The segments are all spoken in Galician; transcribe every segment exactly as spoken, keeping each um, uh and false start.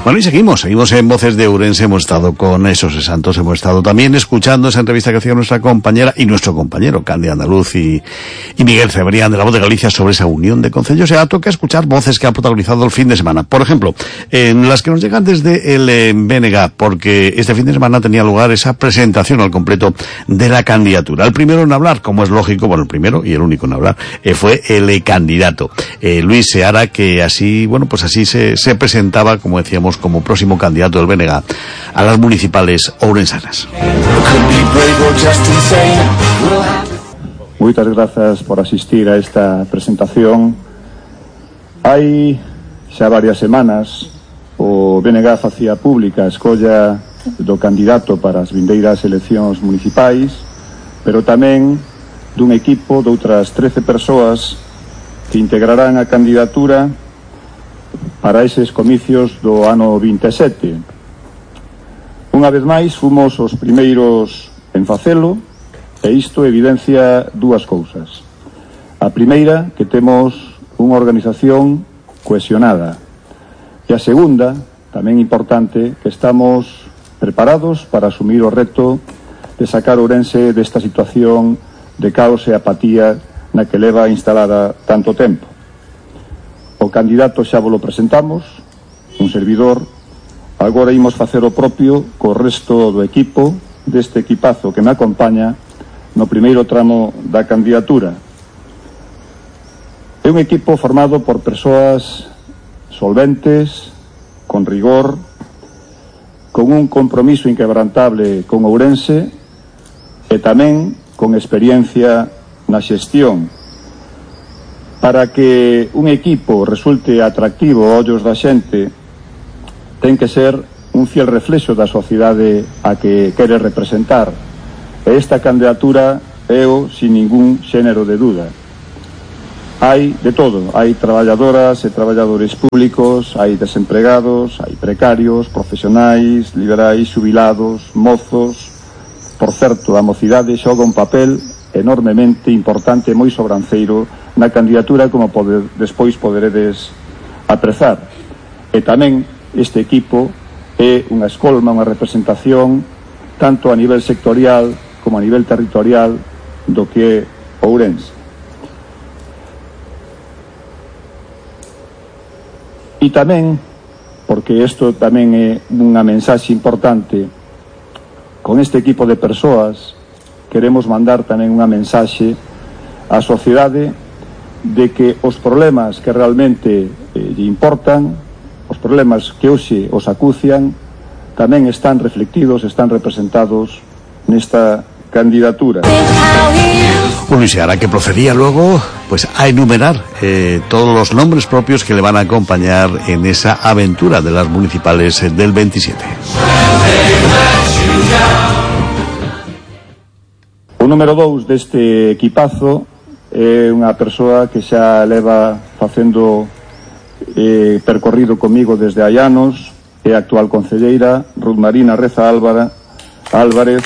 Bueno, y seguimos, seguimos en Voces de Ourense. Hemos estado con esos santos, hemos estado también escuchando esa entrevista que hacía nuestra compañera y nuestro compañero Candy Andaluz y, y Miguel Cebrián de La Voz de Galicia sobre esa unión de concellos. Ya toca escuchar voces que ha protagonizado el fin de semana. Por ejemplo, en las que nos llegan desde el eh, B N G, porque este fin de semana tenía lugar esa presentación al completo de la candidatura. El primero en hablar, como es lógico, bueno, el primero y el único en hablar, eh, fue el eh, candidato, eh, Luis Seara, que así, bueno, pues así se, se presentaba, como decíamos, como próximo candidato del B N G a las municipales ourensanas. Moitas grazas por asistir a esta presentación. Hai xa varias semanas o B N G facía pública a escolla do candidato para as vindeiras eleccións municipais, pero tamén dun equipo de outras trece persoas que integrarán a candidatura para eses comicios do ano vinte e sete. Unha vez máis, fomos os primeiros en facelo, e isto evidencia dúas cousas. A primeira, que temos unha organización cohesionada. E a segunda, tamén importante, que estamos preparados para asumir o reto de sacar Ourense desta situación de caos e apatía na que leva instalada tanto tempo. O candidato xa vos lo presentamos, un servidor. Agora imos facer o propio co resto do equipo, deste equipazo que me acompaña no primeiro tramo da candidatura. É un equipo formado por persoas solventes, con rigor, con un compromiso inquebrantable con Ourense e tamén con experiencia na xestión. Para que un equipo resulte atractivo aos ollos da xente, ten que ser un fiel reflexo da sociedade a que quere representar. E esta candidatura é o sin ningún xénero de duda. Hai de todo, hai traballadoras e traballadores públicos, hai desempregados, hai precarios, profesionais, liberais, xubilados, mozos. Por certo, a mocidade xoga un papel enormemente importante e moi sobranceiro na candidatura, como pode, despois poderedes aprezar. E tamén este equipo é unha escolma, unha representación tanto a nivel sectorial como a nivel territorial do que é Ourense. E tamén, porque isto tamén é unha mensaxe importante, con este equipo de persoas queremos mandar tamén unha mensaxe á sociedade de que os problemas que realmente eh, lle importan, os problemas que hoxe os acucian, tamén están reflectidos, están representados nesta candidatura. Un Luis Seara que procedía luego pues a enumerar eh, todos los nombres propios que le van a acompañar en esa aventura de las municipales eh, del veintisiete. O número dous deste equipazo é unha persoa que xa leva facendo eh, percorrido comigo desde hai anos, é a actual concelleira Ruth Marina Reza Álvara, Álvarez,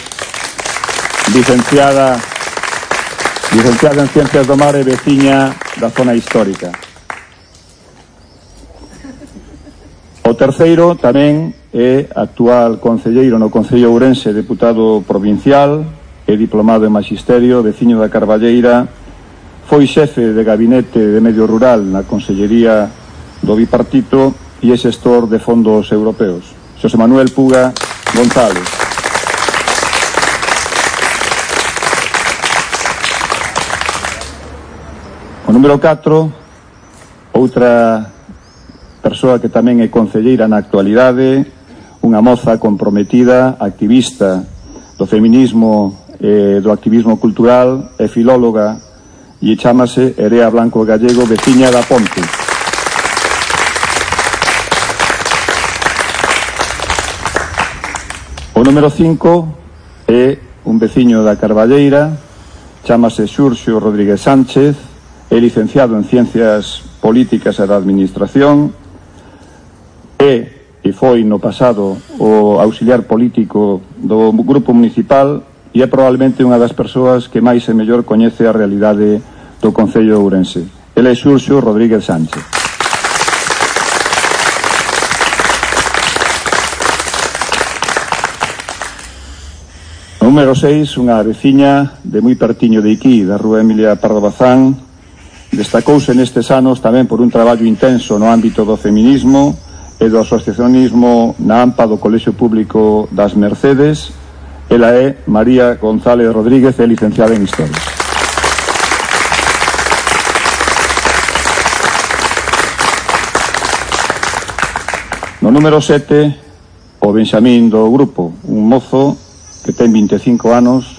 licenciada licenciada en Ciencias do Mar e veciña da zona histórica. O terceiro tamén é actual concelleiro no Concello Ourense, deputado provincial, é diplomado en Magisterio, veciño da Carballeira, foi xefe de gabinete de medio rural na Consellería do Bipartito e é xestor de fondos europeos. Xosé Manuel Puga González. O número catro, outra persoa que tamén é concelleira na actualidade, unha moza comprometida, activista do feminismo e do activismo cultural, é filóloga e chámase Erea Blanco Gallego, veciña da Ponte. O número cinco é un veciño da Carballeira, chámase Xurxo Rodríguez Sánchez, é licenciado en Ciencias Políticas e da Administración, é e foi no pasado o auxiliar político do grupo municipal e é probablemente unha das persoas que máis e mellor coñece a realidade do Concello de Ourense. Ele é Xurxo Rodríguez Sánchez. Número seis, unha veciña de moi pertiño de Iquí, da rúa Emilia Pardo Bazán, destacouse nestes anos tamén por un traballo intenso no ámbito do feminismo e do asociacionismo na AMPA do Colexio Público das Mercedes. Ela é María González Rodríguez, é licenciada en Historia. No número sete, o Benxamín do grupo, un mozo que ten vinte e cinco anos,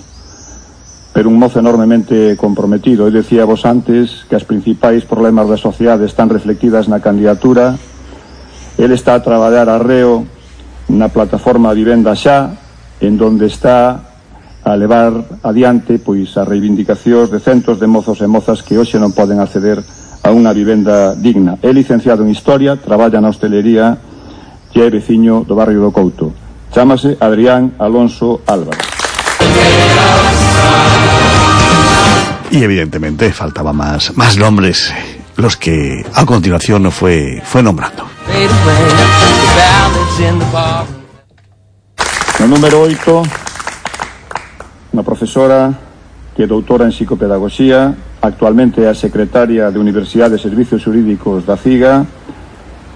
pero un mozo enormemente comprometido. Eu decía vos antes que as principais problemas da sociedade están reflectidas na candidatura. Ele está a traballar arreo na plataforma Vivenda Xa, en donde está a levar adiante pois as reivindicacións de centos de mozos e mozas que hoxe non poden acceder a unha vivenda digna. É licenciado en Historia, traballa na hostelería e é veciño do barrio do Couto. Chámase Adrián Alonso Álvarez. Y evidentemente faltaban más, más nombres, los que a continuación fue, fue nombrando. No número oito, unha profesora que é doutora en psicopedagogía, actualmente é a secretaria de Universidade de Servicios Xurídicos da CIGA,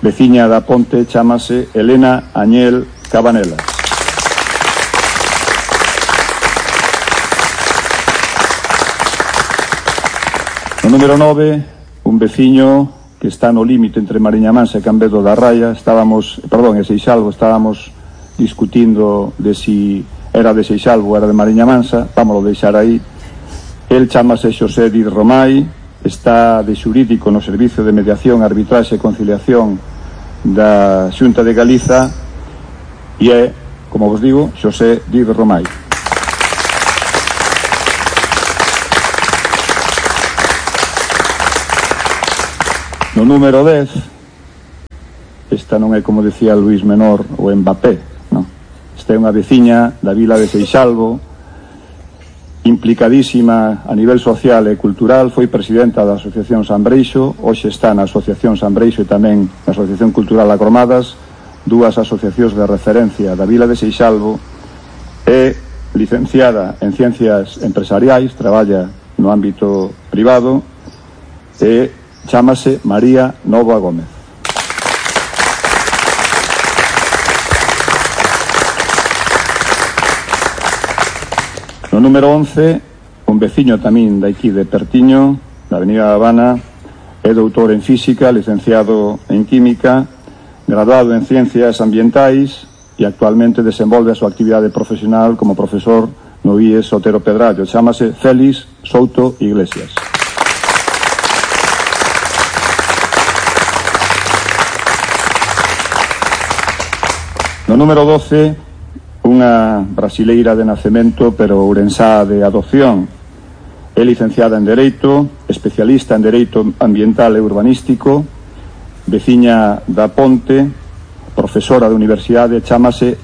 veciña da Ponte, chámase Elena Añel Cabanela. No número nove, un veciño que está no límite entre Mariña Mansa e Cambedo da Raya. Estábamos, perdón, e Seixalvo, estábamos discutindo de si era de Seixalvo ou era de Mariña Mansa. Vámoslo deixar aí. El chámase Xosé Diz Romai, está de xurídico no Servicio de Mediación, Arbitraxe e Conciliación da Xunta de Galiza e é, como vos digo, Xosé Diz Romai. No número dez, esta non é, como decía Luís Menor, o Mbappé, non? Esta é unha veciña da vila de Seixalvo, implicadísima a nivel social e cultural, foi presidenta da Asociación San Breixo, hoxe está na Asociación San Breixo e tamén na Asociación Cultural Agromadas, dúas asociacións de referencia da vila de Seixalvo. É licenciada en Ciencias Empresariais, traballa no ámbito privado e chámase María Nova Gómez. No número once, un veciño tamén daqui de Pertiño, da Avenida Habana, é doutor en Física, licenciado en Química, graduado en Ciencias Ambientais e actualmente desenvolve a súa actividade profesional como profesor no I E S Otero Pedrallo. Chámase Félix Souto Iglesias. No número doce, unha brasileira de nacemento pero ourensá de adopción. É licenciada en Dereito, especialista en Dereito Ambiental e Urbanístico, veciña da Ponte, profesora de universidade, chámase